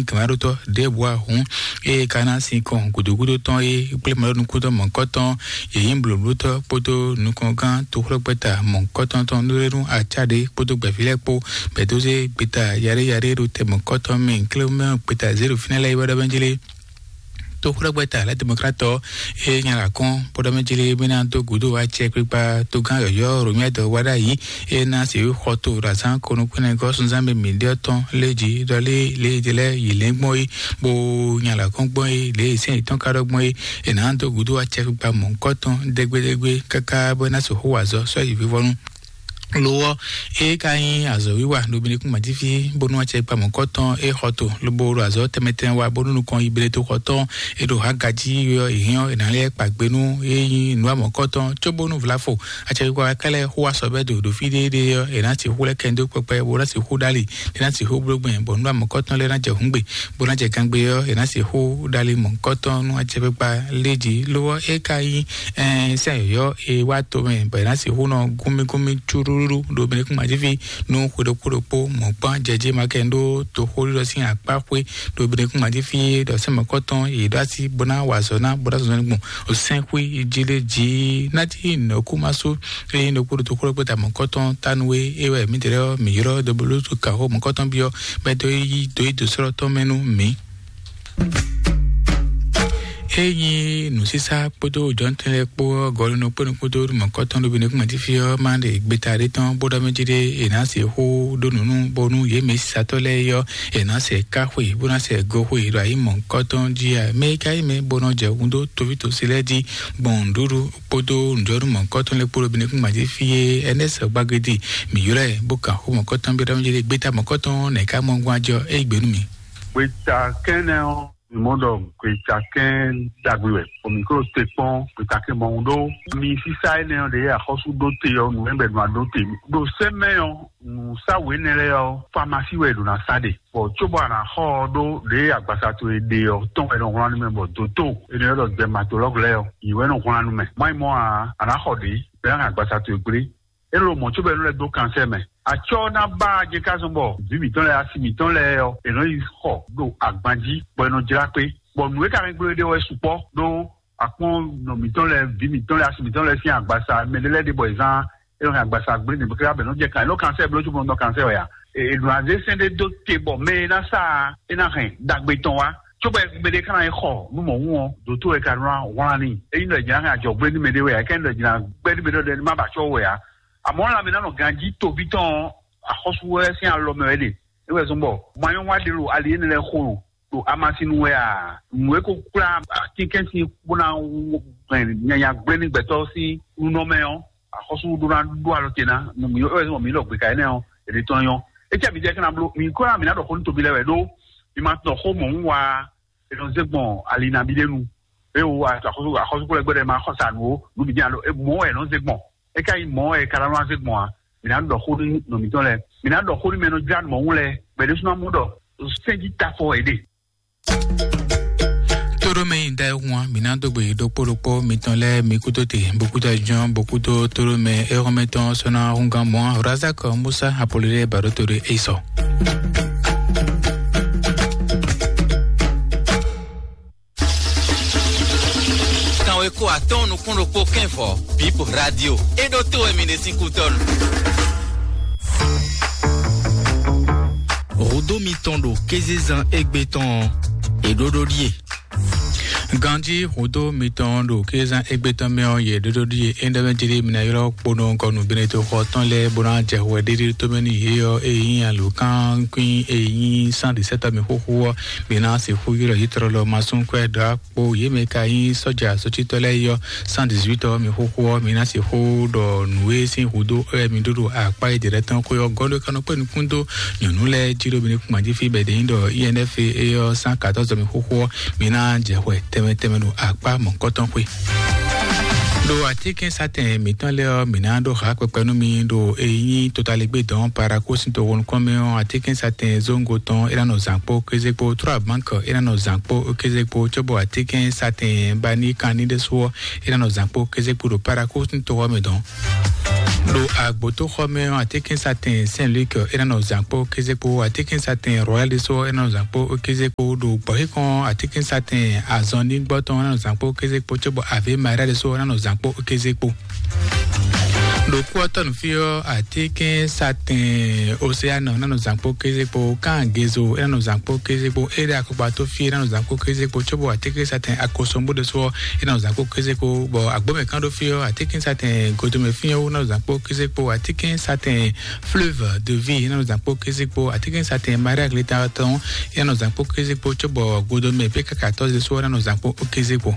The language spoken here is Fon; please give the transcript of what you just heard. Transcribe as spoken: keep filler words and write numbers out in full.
gǎnmaɖótɔ́ ɖěbǔ ǎ hǔn, ée ka ná sin kɔn gǔdúgúdú tɔn é kplé mɔɖɔnukúntɔ́ mɔ̌hunkɔtɔn, yě nyí blǒblótɔ́ kpódó nukɔngán toxlɔ́gbɛ́ta mɔ̌hunkɔtɔn tɔn ɖó nú acá ɖě kpódó gbɛ̌ví lɛ́ɛ kpó, bɛ̌ dó zé gbeta yaɖé yaɖé ɖo tɛ mɔ̌hunkɔtɔn mɛ, klé mɛ gbeta zěɖo fínɛ́ lɛ́ɛ yi wɛ ɖɔ mɛ jlé. Toxlɔ́gbɛ́ta lɛ́ demɔkratɔ é nya la kɔn bó ɖɔ mɛ jlé mɛ ná dó gǔdo acɛkpikpa togán yɔ̌yɔ́ Romiɛdɔ wá ɖ'ayǐ, é ná sixú xɔ to ɖo azǎn konukúnɛgɔ́ sunzán mɛ mǐɖyɔ́ tɔn lé jí ɖɔ lé lě e lɛ́ yi lɛ́n gbɔn é, bó nya la kɔn gbɔn é, lě e sɛ́n yětɔn ka ɖɔ gbɔn é, è nǎ dó gǔdo acɛkpikpa mɔ̌hunkɔtɔn dégbédégbé káká bó ná sixú wa azɔ̌ sɔ́ yi vivɔnu. Lo ɔ́, é ka nyí azɔ̌wiwa ɖo Benekún Majífí bónú acɛkpa mɔ̌kɔtɔn é xɔ to, lobo ɖo azɔ̌ tɛnmɛ tɛnmɛ wa bónú nukɔn yi Beneto xɔ tɔn é ɖo Hagají ɔ́, è hɛn ɔ́, è nǎ lɛ́ kpa gbe nú é nyí nǔ amɔ̌kɔtɔn, cóbónú Vlafo acɛkpa kɛ́lɛ́ xó asɔbɛ́do ɖo fí ɖéeɖée ɔ́, è nǎ sixú lɛ́ kɛ dó kpɛkpɛ bó ná sixú ɖ'ali, é ná sixú bló gbɛn, bɔ nǔ amɔ̌kɔtɔn lɛ́ɛ ná jɛ hǔngbe, bó ná jɛ gangbe ɔ́, è nǎ sixú ɖ'ali mɔ̌kɔtɔn nú acɛkpa lé jí. Lo ɔ́, é ka nyí ɛn sɛ́n yɔ̌yɔ́ e wá to mɛ bɔ è nǎ sixú nɔ gúnmígúnmí cúɖúɖú ɖo Benekún Majífí nú xwe ɖokpó ɖokpó mɔ̌kpán jɛjí ma kɛ ɖó toxóɖiɖɔ sín akpá xwé ɖo Benekún Majífí ɖɔ sɛ́n mɔ̌kɔtɔn yě ɖó así bó ná wa azɔ̌ ná bó ná zɔzɔ́ gbɔn sɛ́nxwé jí lé jí. Ná cí nɔ̌kúmasú é nyí ɖokpó ɖo toxóɖokpó ta mɔ̌kɔtɔn tánu é é wɛ mǐdɛɛ ɔ́ mǐ ylɔ́ dɔblótu kǎxó mɔ̌kɔtɔn byɔ́ bɛ́ dó yí dó yí dǒ sɔ́lɔ́ tɔn mɛ nú mǐ. Ényí nǔsísá kpódó jɔ̌ntɛn lɛ́ɛ kpó ɔ́, gɔ̌lunɔ kpónɔ kpódó mɔ̌kɔtɔn ɖo Benekún Majífí ɔ́ má ɖe gbeta ɖé tɔn bó ɖɔ mɛ jí ɖé è nǎ se xó ɖó nǔ nú bónú yě mɛ sísatɔ́ lɛ́ɛ é ɔ́, è nǎ sɛ ká xwe bó ná sɛ go xwe ɖo ayǐ mɔ̌kɔtɔn jí a? Mɛ e ka nyí mɛ bó nɔ jɛ hun dó toví tosi lɛ́ɛ jí gbɔn nǔɖuɖu kpódó nǔjɔnú mɔ̌kɔtɔn lɛ́ɛ kpó ɖo Benekún Majífí é, Ɛnɛ́sɛ Gbagedi mǐ ylɔ́ ɛ bó kan xó mɔ̌kɔtɔn byɔ́ ɖɔ mɛ jí ɖé gbeta mɔ̌kɔtɔn nɛ̌ ká mɔ gbɔn ajɔ é gbě nú mì? Gbeta kɛ́nɛ ɔ́, mi mɔ ɖɔ gbeta kɛn ɖagbe wɛ, bɔ mi klo te kpɔn gbeta kɛn mɔ ɖó mi sísá énɛ́ ɔ́ ɖe axɔ́sú ɖó te ɔ́, nǔ ɛbɛ nɔ aɖó te ɖo sɛmɛ ɔ́, nǔsáwǔ énɛ́ lɛ́ɛ ɔ́, famasi wɛ è ɖo ná sa ɖe, bɔ cóbɔ a nǎ xɔ ɔ́ ɖó ɖě agbasa towe ɖe ɔ́ tɔn wɛ nɔ wlán nú mɛ, bɔ dǒtó énɛ́ ɔ́ ɖɔ dɛmatolɔ́gu lɛ́ɛ ɔ́, yě wɛ nɔ wlán nú mɛ. Má nyí mɔ̌ ǎ, a nǎ xɔ ɖě bɔ é ná hɛn agbasa towe gblé. É ló mɔ̌ cóbɔ é nɔ lɛ́ dó kansɛ́ mɛ. Acɔ́ ná ba jɛ ká zɔn bɔ vǐ mǐtɔn lɛ́ɛ, asi mǐtɔn lɛ́ɛ ɔ́, è nɔ yi xɔ ɖo agban jí, bɔ è nɔ jlá kpé. Bɔ nǔ e ka hɛn gblé ɖe wɛ sukpɔ́ ɖó akpɔ́n nɔ mǐtɔn lɛ́ɛ, vǐ mǐtɔn lɛ́ɛ, asi mǐtɔn lɛ́ɛ sín agbasa, mɛ ɖé lɛ́ɛ ɖe bɔ è zán é nɔ hɛn agbasa gblé nǐ bó ká bɛ nɔ jɛ kan, è nɔ kansɛ́ bló cóbɔ nɔ kansɛ́ wɛ a? È nɔ azé sɛn ɖé dó te bɔ mɛ e ná sa é ná hɛn ɖagbe tɔn wá. Cóbɔ mɛ ɖé ka ná yi xɔ nú mɔ̌ wún ɔ́, dǒtó wɛ ka nɔ wlán n'i. Ényí ɖɔ è jǐ ná hɛn ajɔ̌gbé nú mɛ ɖé wɛ a, é ká nyí ɖɔ è jǐ ná gbɛ́ nú mɛ ɖé wɛ má ba acɔ́ wɛ a? Àmọ́ lanmɛ ná nɔ ganjí toví tɔn ɔ́, axɔ́sú wɛ sín alɔ mɛ wɛ ɖe. É wɛ zɔ́n bɔ ma nyɔ́ wá ɖe ɖo ali énɛ́ lɛ́ɛ xo ɖo ɖo amasinu wɛ a? Nǔ e ko kplá atínkɛn sín bó ná hɛn nyanya gblé ní gbɛtɔ́ sín nunɔ mɛ ɔ́, axɔ́sú ɖó ná ɖó alɔ te ná nǔ mǐ é wɛ zɔ́n bɔ mǐ lɔ gbeka énɛ́ ɔ́, è ɖe tɔn nyɔ́. É cɛ mǐ jɛ kɛ́n ná bló, mǐ kó ná mǐ ná ɖɔ xó nú tobi lɛ́ɛ wɛ ɖó mi ma tɔn xó mɔ̌ wún wá è nɔ zé gbɔn ali nabí ɖé nu. É wo axɔ́sú axɔ́sú kplɔ́ gbɛ́ ɖɛ ma xɔ sa nǔ ó, nǔ bǐ jɛ́n alo mɔ̌ wɛ è nɔ zé gbɔn. É ka nyí mɔ̌ wɛ è ka ná nɔ zé gbɔn a? Mǐ ná ɖɔ xó nú nɔ mǐtɔn lɛ́ɛ. Mǐ ná ɖɔ xó nú mɛ e nɔ jlá nǔ mɔ̌ wún lɛ́ɛ. Gbɛ̌ ɖésú ná mɔ ɖɔ sɛ́njí tafɔ è ɖe. Tóɖó mɛ nyi da ehun a, mǐ ná dó gbe ɖokpó ɖokpó mitɔn lɛ́ɛ mi kúdó te, bó kúdó ajɔ́n, bó kúdó tóɖó mɛ éhɔ́mɛtɔn sɔ́ ná húngán mɔ̌ a, Razak Musa Apolodé Baɖótoɖé Esɔ. Kanwe ko atɔ́ɔ́n nukún ɖokpó kɛ́n vɔ̌, Bip Radio. É ɖó to wɛ mi ɖe sín kútɔ́nu. Hǔdó mitɔn ɖo kézezán égbé tɔn ɔ́, è ɖó ɖó ɖíe. Ganjí hǔdó mitɔn ɖo kézezán égbé tɔn mɛ ɔ́, yě ɖó ɖó ɖíe. É ɖɔ mɛ jí ɖé mi ná ylɔ́ kponɔ gɔnu Benedikto xɔ tɔn lɛ́ɛ bó ná jɛ hwɛ ɖéɖé tó mɛ nú yě ɔ́, ényí alǒkankwín e nyí cent dix-sept mi xóxó ɔ́, mi ná sixú ylɔ́ yě tlɔlɔ ma sún kwɛ́ ɖɔ kpo yě mɛ ka nyí sɔ́ja sɔ́cítɔ́ lɛ́ɛ é ɔ́, cent dix-huit ɔ́, mi xóxó ɔ́, mi ná sixú ɖɔ nǔ e sín húdó wɛ mi ɖó ɖo akpá e jɛ lɛ́ɛ tɔn xwé ɔ́ gɔ́ ɖó kanɔ kpé nukún dó nyɔ̌nu lɛ́ɛ jí ɖo mi ní kún jí fí bɛ̌ ɖě nyí ɖɔ I N F é ɔ́, cent quatorze mi xóxó ɔ́, mi ná jɛ hwɛ tɛnmɛ tɛnmɛ ɖo akpá mɔ̌kɔtɔn xwé. Ɖo atínkɛnsatɛn mǐtɔn lɛ́ɛ ɔ́, mǐ ná ɖó ha kpɛkpɛ nú mi ɖo e nyí totaligbé dɔn paraku sín toxo nukɔn mɛ ɔ́, atínkɛnsatɛn zóŋgo tɔn é ná nɔ zǎn kpó kéze kpó, trɔ́ abǎnkɔ é ná nɔ zǎn kpó kéze kpó, cóbɔ atínkɛnsatɛn baníkan ní ɖésú ɔ́, é ná nɔ zǎn kpó kéze kpó ɖo paraku sín toxo ɔ́ mɛ dɔn. Ɖo agbotoxɔmɛ ɔ́, atínkɛnsatɛn Saint Luc é ná nɔ zǎn kpó kéze kpó, atínkɛnsatɛn Royal ɖésú é ná nɔ zǎn kpó kéze kpó. Ɖo gbɔ̌xíkɔn atínkɛnsatɛn azɔnnígbɔ́tɔn é ná nɔ zǎn kpó kéze kpó, cóbɔ Ave Maria ɖésú é ná nɔ zǎn kpó kéze kpó. Ɖo kú ɔ́ tɔ́ nǔ fí ɔ́, atínkɛnsatɛn Océane é ná nɔ zǎn kpó kéze kpó, Kan Gezo é ná nɔ zǎn kpó kéze kpó, é ɖo akɔkpa tó fí é ná nɔ zǎn kpó kéze kpó, cóbɔ atínkɛnsatɛn Akosombo ɖésú é ná nɔ zǎn kpó kéze kpó, bɔ agbómɛ kan ɖó fí ɔ́, atínkɛnsatɛn Godomɛ fí ɔ́ ná nɔ zǎn kpó kéze kpó, atínkɛnsatɛn Fleuve de Vie ná nɔ zǎn kpó kéze kpó, atínkɛnsatɛn Maria Gleta tɔn ná nɔ zǎn kpó kéze kpó, cóbɔ Godomɛ pé káka tɔ́ ɖésú ná nɔ zǎn kpó kéze kpó.